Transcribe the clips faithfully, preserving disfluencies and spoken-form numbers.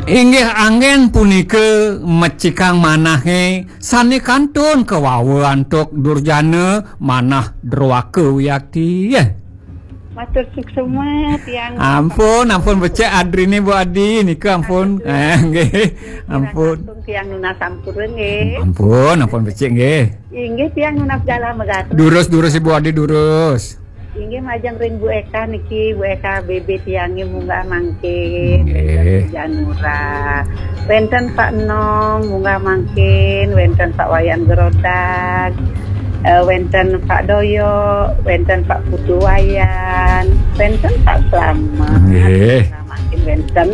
Inggih anggen punika mecikang manahé sané kantun kawawa antuk durjana manah druwaka wiakti. Matur suksma tiang. Ampun, ampun becik adriné Bu Adi nika ampun. Ampun. Eh, nggih. Ampun. Tiang nunas sampura nggih. Ampun, ampun becik nggih. Inggih tiang nunas dalam megatur. Durus, durus Ibu Adi durus. Inggih majeng ring Bu Eka niki, Bu Eka B B tiangé munggah mangkin, nggih. Wénten Janura. Wénten Pak Nong munggah mangkin, wénten Pak Wayan Gerodak, eh, wénten Pak Doyo, wénten Pak Putu Wayan, wénten Pak Slamet. Nggih. Munggah mangkin wénten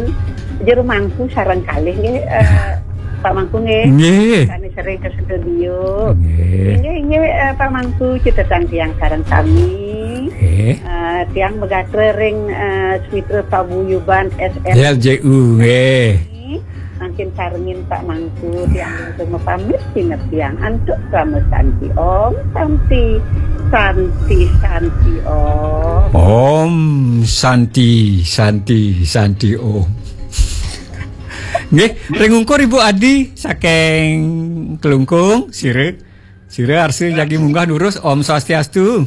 Jero Mangku sareng kalih nggih, eh, Pak Mangku nggih. Nggih. Kami sering ke studio. Nggih. Inggih, inggih, eh, Pak Mangku, cetha tiang sareng sami. Nggih. Eh, tiang megatra ring, eh, Switra Paguyuban S R L J U, nggih. Mangkin sarengin Pak Mangku, tiang pun mapamit sinep tiang antuk krama santi. Om Santi, Santi, Santi Om. Om Santi, Santi, Santi Om. Nggih, ring ungkur Ibu Adi saking Klungkung, sira. Sira arsa jagi munggah durus, Om Swastiastu.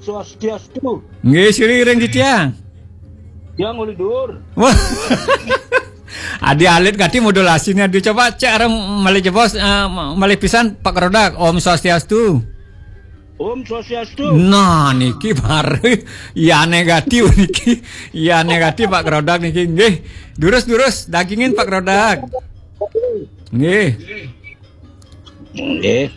Swastiastu. Nggih, sira ring titiang. Tiang uli dur. Wah. Adi alit gati modulasiné, Adi coba cek arang malih jebos, eh, malih pisan Pak Rodak, Om Swastiastu. Om Swastiastu. Nah, niki baru. Iya negatif niki. Iya negatif Pak Rodak niki. Nggih. Durus-durus dagingin Pak Rodak. Nggih. Nggih.